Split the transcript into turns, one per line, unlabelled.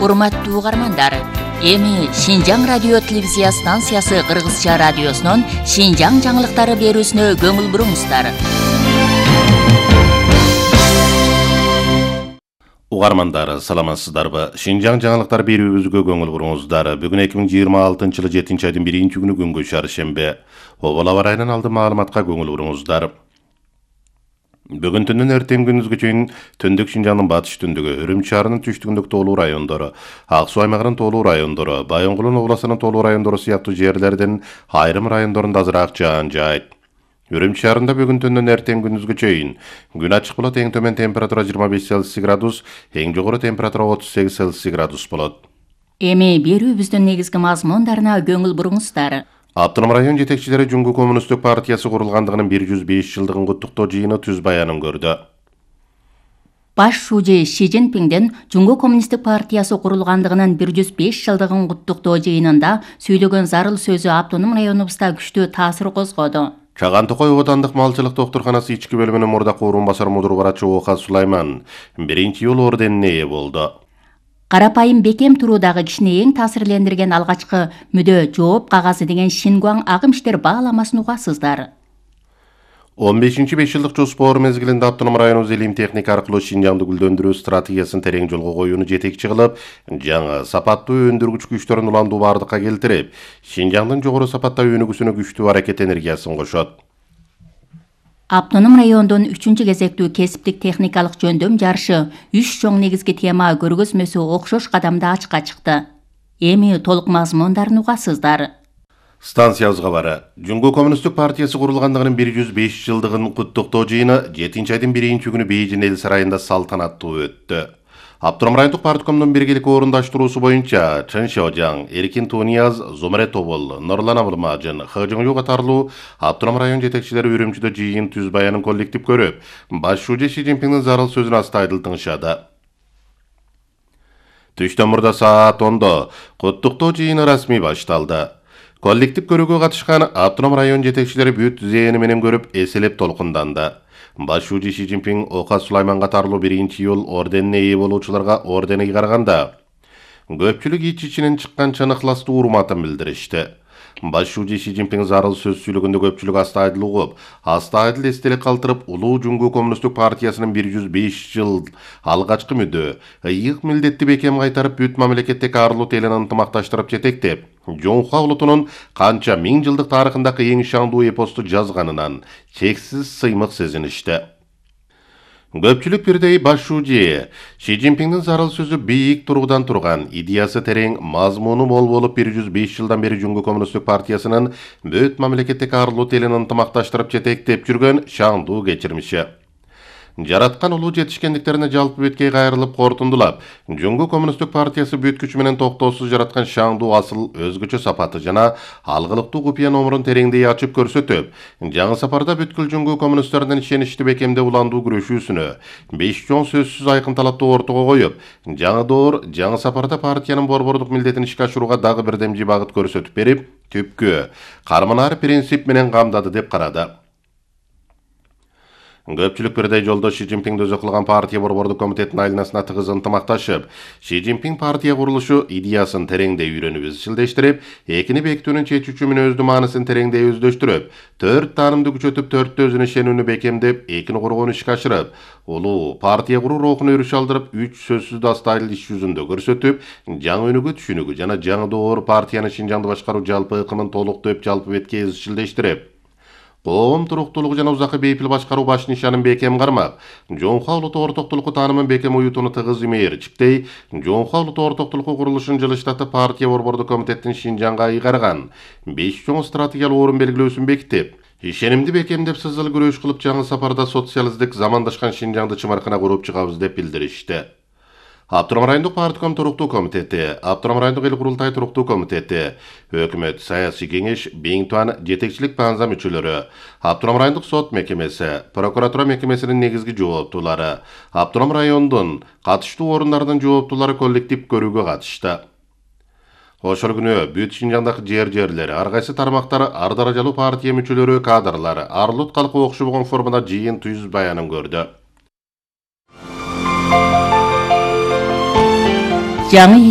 Урматтуу угармандар, эми Шинжаң радио телевизия станциясы Кыргызча радиосунун Шинжаң жаңылыктары берүүсүнө көңүл буруңуздар.
Угармандар, саламатсыздарбы? Шинжаң жаңылыктар берүүбүзгө көңүл буруңуздар. Бүгүн 2026-жылы 7-айдын 1-күнү күнгө чаршембе. Обол аба ырайынан алды маалыматка көңүл буруңуздар. Бүгүн түндүн эртең күндүзгө чейин Түндүк Шинжаңдын батыш түндүгү, Үрүм шаарынын түштүгүндөгү тоолуу райондору, Ак суу аймагынын тоолуу райондору, Байоңгулун областынын тоолуу райондору сыяктуу жерлердин айрым райондорунда азыраак жаан жаайт. Үрүм шаарында бүгүн түндүн эртең күндүзгө чейин күн ачык болот, эң төмөн температура 25 Цельсий градус, эң жогору температура 38 Цельсий градус болот.
Эми берүүбүздүн негизги мазмундарына көңүл буруңуздар.
Автоном район жетекчилери Жуңгу коммунисттик партиясы курулгандыгынын 105 жылдыгын куттуктоо жыйыны түз баянын көрдү.
Баш шүүжө Ши Цзиньпиндин Жуңгу коммунисттик партиясы курулгандыгынын 105 жылдыгын куттуктоо жыйынында сүйлөгөн зарыл сөзү автоном районубузда күчтүү таасир козгоду.
Чаган Токой оотандык малчылык доктурканасы ички бөлүмүнүн мурдакы орун басар мудур барачы Ока Сулайман 1-жыл орденине ээ болду.
Карапайым бекем туруудагы кишини эң таасирлендирген алгачкы мүдө жооп кагазы деген Шингуаң агым иштер бааламасын угасыздар.
15-5 жылдык жоспор мезгилинде автоном районубуз илим техника аркылуу Шинжаңды гүлдөндүрүү стратегиясын терең жолго коюуну жетекчи кылып, жаңы сапаттуу өндүргүч күчтөрүн уламдуу бардыкка келтирип, Шинжаңдын жогору сапаттагы өнүгүүсүнө күчтүү аракет энергиясын кошот.
Автоном райондун 3-чү кезектүү кесиптик техникалык жөндөм жарышы 3 чоң негизги тема көргөзмөсү окшош кадамда ачыкка чыкты. Эми толук мазмундарын угасыздар.
Станциябызга бары. Жуңгу коммунисттик партиясы курулгандыгынын 105 жылдыгын куттуктоо жыйыны 7-айдын 1-күнү Бейжин эл сарайында салтанаттуу өттү. Автоном райондук парткомдун биргелик орундаштыруусу боюнча Чын Шожаң, Эркин Тунияз, Зумре Тобол, Нурлан Абылмажын, Хыжыңжу катарлуу автоном район жетекчилери Үрүмчүдө жыйын түз баянын коллектив көрүп, баш шүүжө Ши Цзиньпиндин зарыл сөзүн астайдыл тыңшады. Түштөн мурда саат 10-до куттуктоо жыйыны расмий башталды. Коллектив көрүүгө катышкан автоном район жетекчилери бүт зээни менен көрүп, эселеп толкунданды. Баш шүүжө Ши Цзиньпин Ока Сулайман катарлуу 1-жыл орденине ээ болуучуларга ордени караганда, көпчүлүк ич-ичинен чыккан чыныкластуу урматын билдиришти. Баш шүүжө Ши Цзиньпин зарыл сөз сүйлөгөндө көпчүлүк астайдыл угуп, астайдыл эстелик калтырып, улуу Жуңгу коммунисттик партиясынын 105 жыл алгачкы мүдө, ыйык милдетти бекем кайтарып, бүт мамлекеттеги арлут элин ынтымакташтырып жетектеп, Жоңхуа улутунун канча миң жылдык тарыхындагы эң шаңдуу эпосту жазганынан чексиз сыймык сезиништи. Көпчүлүк бирдей баш шүүжө Ши Цзиньпиндин зарыл сөзү бийик тургудан турган, идеясы терең, мазмуну мол болуп 105 жылдан бери Жуңгу коммунисттик партиясынын бүт мамлекеттеги арлут элин ынтымакташтырып жетектеп жүргөн шаңдуу кечирмиши. Жараткан улуу жетишкендиктерине жалпы беткей кайрылып кортундулап, Жуңгу коммунисттик партиясы бүт күчү менен токтоосуз жараткан шаңдуу асыл өзгөчө сапаты жана алгылыктуу купуя номурун тереңдей ачып көрсөтүп, жаңы сапарда бүткүл Жуңгу коммунисттердин ишеничти бекемде уландуу күрөшүүсүнө 5 чоң сөзсүз айкын талапты ортого коюп, жаңы доор, жаңы сапарда партиянын борбордук милдетин ишке ашырууга дагы бирдемчи багыт көрсөтүп берип, түпкү карманар принцип менен камдады деп карады. Көпчүлүк бирдей жолдо Ши Цзиньпин өзү кылган партия борбордук комитеттин айланасына тыгыз ынтымакташып, Ши Цзиньпин партия курулушу идеясын тереңдей үйрөнүп изчилдештирип, экини бекитүүнүн чечүүчү мүнөздүү маанысын тереңдей өздөштүрүп, 4 таанымды күчөтүп, 4 өзүнө ишенүүнү бекемдеп, экини коргоону ишке ашырып, улуу партия куруу рухуна өрүш алдырып, 3 сөзсүздү астайдыл иш жүзүндө көрсөтүп, жаңы өнүгүү түшүнүгү жана жаңы доор партиянын Шинжаңды башкаруу жалпы ыкымын толуктоп, жалпы бетке изчилдештирип, коом туруктуулугу жана узакы бейпил башкаруу баш нишанын бекем кармап, Жоңхуа улуту ортоктулуку таанымын бекем уютууну тыгыз имээрчиктей, Жоңхуа улуту ортоктулуку курулушун жылыштатып, партия борбордук комитеттин Шинжаңга ыйгарган 5 чоң стратегиялык орун белгилөөсүн бекитип, ишенимди бекемдеп сызыл күрөш кылып, жаңы сапарда социалисттик замандашкан Шинжаңды чымаркына куруп чыгабыз деп билдиришти. Автоном райондук партком туруктуу комитети, Автоном райондук эл курултай туруктуу комитети, өкмөт саясий кеңеш, Бейин Туан жетекчилик банза мүчөлөрү, Автоном райондук сот мекемеси, прокуратура мекемесинин негизги жооптуулары, Автоном райондун катыштуу орундарынын жооптуулары коллектив көрүүгө катышты. Ошол күнү бүт Шинжаңдагы жерлери, ар кайсы тармактары, ар даражалуу партия мүчөлөрү, кадрлары, арлут калкы окшобогон формада жыйын түз баянын көрдү.
жаңы